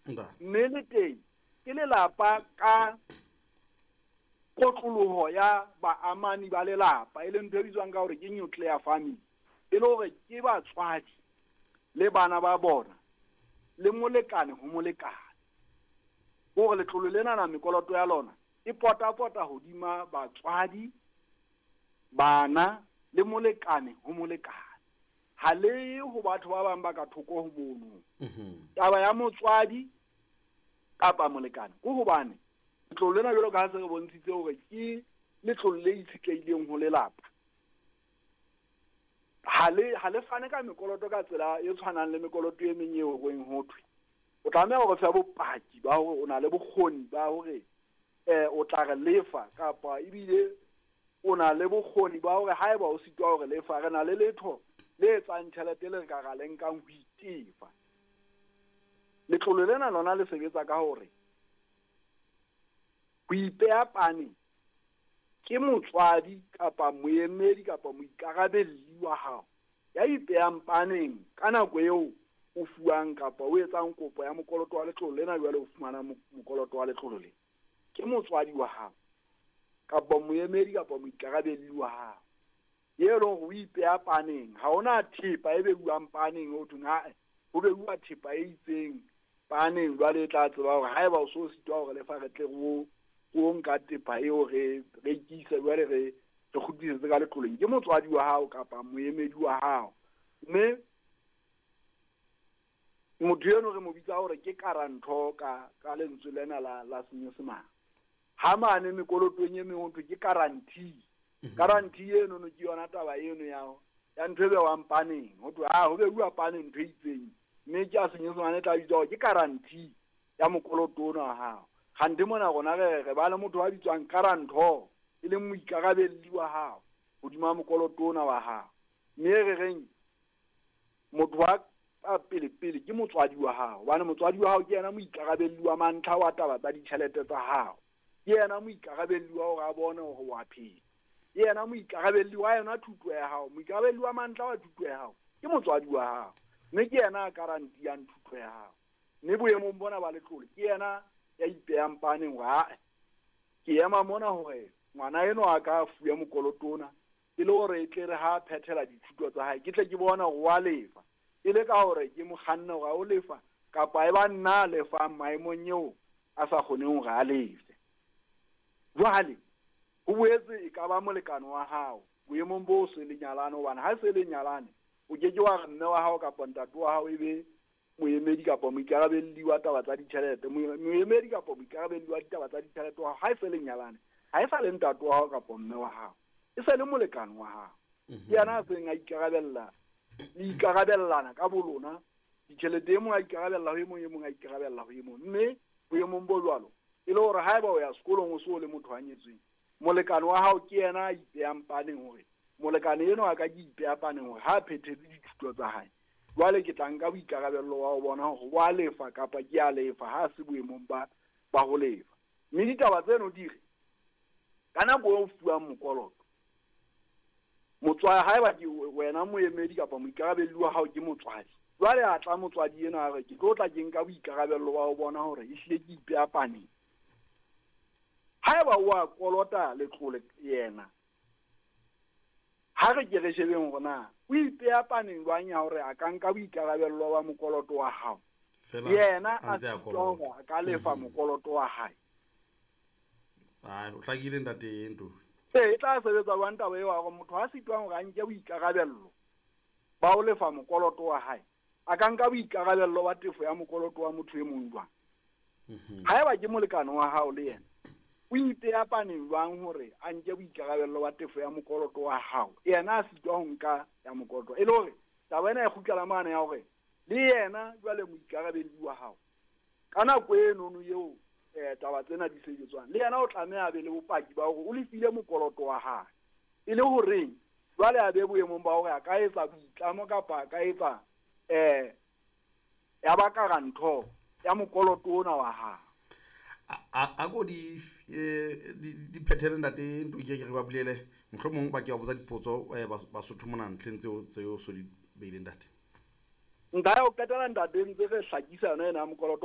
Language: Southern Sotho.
Mme le teng ke lelapa ka kotloloho ya baamani ba lelapa, e leng ntho e bitswang ka hore ke nuclear family, e le hore ke batswadi le bana ba bona le molekane ho molekane. Hore letlole lenana mekoloto ya lona e potapota hodima batswadi, bana le molekane ho molekane. Ha le ye ho batho ba bang ba ka thoko ho mono. Taba ya motswadi kapa molekane ke hobane letlole lena jwalo ka ha se re bontshitse hore ke letlole le itshetlehileng ho lelapa. Ha le fane ka mekoloto ka tsela e tshwanang le mekoloto e meng eo reng ho thwe. O tlameha hore fe bopaki ba hore o na le bokgoni ba hore o tla re lefa, kapa ebile o na le bokgoni ba hore haeba o sitwa hore lefa, re na le letho le etsang tjhelete le re ka ra le nkang ho itefa. Letlole lena lona le sebetsa ka hore ho ipeha pane ke motswadi kapa moemedi kapa moikarabelli wa hao ya ipehang paneng ka nako eo o fuwang kapa o etsang kopo ya mokoloto wa letlole lena, jwale o fumana mokoloto wa letlole lena. Ke motswadi wa hao kapa moemedi kapa moikarabelli wa hao e leng hore o ipeha paneng. Ha hona thepa e beuwang paneng ho thweng ae, ho beuwa thepa e itseng paneng, jwale e tla tseba hore haeba o so sitwa hore lefa re tle re o nka thepa eo re rekise, jwale re kgutlisetse ka letloleng. Ke motswadi wa hao kapa moemedi wa hao. Mme motho eno re mo bitsa hore ke karantho ka lentswe lena la Senyesemane. Ha mane mekolotong e meng ho thwe ke guarantee. Guarantee eno no ke yona taba eno ya ntho e bewang paneng. Ho thwe ho beuwa paneng ntho e itseng, mme ke a Senyesemane e tla bitswa hore ke guarantee ya mokoloto ona wa hao. Kgante mona rona re ba le motho a bitswang guarantor, e leng moikarabelli wa hao hodima mokoloto ona wa hao. Mme re reng motho wa pele pele ke motswadi wa hao, hobane motswadi wa hao ke yena moikarabelli wa mantlha wa taba tsa ditjhelete tsa hao. Ke yena moikarabelli wa hore a bone hore wa phela. Ke yena moikarabelli wa yona thuto ya hao, moikarabelli wa mantlha wa thuto ya hao ke motswadi wa hao, mme ke yena a garantiyang thuto ya hao. Mme boemong bona ba letlole ke yena ya ipehang paneng hore ae, ke ema mona hore ngwana enwa a ka fuwa mokoloto ona, e le hore e tle re ha phethela dithuto tsa hae ke tle ke bona hore wa lefa, e le ka hore ke mo kganne hore a o lefa kapa e ba nna a lefang maemong eo a sa kgoneng hore a lefe. Jwale ho boetse e ka ba molekane wa hao boemong bo se le nyalane, hobane ha se le nyalane o ke ke wa re mme wa hao kapa ntate wa hao e be moemedi kapa moikarabelli wa taba tsa ditjhelete. Moemedi kapa moikarabelli wa ditaba tsa ditjhelete wa hao ha e se le nyalane, ha e sa le ntate wa hao kapa mme wa hao, e se le molekane wa hao. Ke yena a seng a ikarabella, le ikarabellana ka bolona ditjhelete, e mong a ikarabella ho e mong, e mong a ikarabella ho e mong. Mme boemong bo jwalo e le hore haeba o ya sekolong o so le motho a nyetsweng, molekane wa hao ke yena a ipehang paneng hore molekane enwa a ka ke ipeha paneng hore ha a phethetse dithuto tsa hae, jwale ke tla nka boikarabello wa ho bona hore wa lefa kapa ke a lefa ha se boemong ba ho lefa. Mme ditaba tseno di re ka nako eo o fuwang mokoloto, motswadi haeba ke wena moemedi kapa moikarabelli wa hao ke motswadi, jwale a tla motswadi ena a re ke tlo tla ke nka boikarabello wa ho bona hore ehlile ke ipeha paneng. Haeba o a kolota letlole yena, ha re ke re shebeng hore na o ipeha paneng jwang ya hore a ka nka boikarabello ba mokoloto wa hao, yena a sitwa hore a ka lefa mokoloto wa hae. Ai, o hlakile ntate Ntofi. Ee, e tla sebetsa jwang taba eo ya hore motho a sitwang hore a nke boikarabello ba ho lefa mokoloto wa hae, a ka nka boikarabello ba tefo ya mokoloto wa motho e mong jwang? Haeba ke molekane wa hao le yena, o ipeha paneng jwang hore a nke boikarabello ba tefo ya mokoloto wa hao, yena a sitwa ho nka ya mokoloto? E le hore taba ena e kgutlela mane ya hore le yena jwale moikarabelli wa hao ka nako enono eo taba tsena di sebetswang, le yena o tlameha a be le bopaki ba hore o lefile mokoloto wa hae, e le horeng jwale a be boemong ba hore a ka etsa boitlamo kapa a ka etsa ya ba karantho ya mokoloto ona wa hae. A ko di phethele ntate Ntoki, ke re ba bulele mohlomong ba ke ba botsa dipotso Basotho mona ntlheng tseo so di beileng ntate. Nka ya ho qetela ntate ntse re hlakisa yona ena ya mokoloto.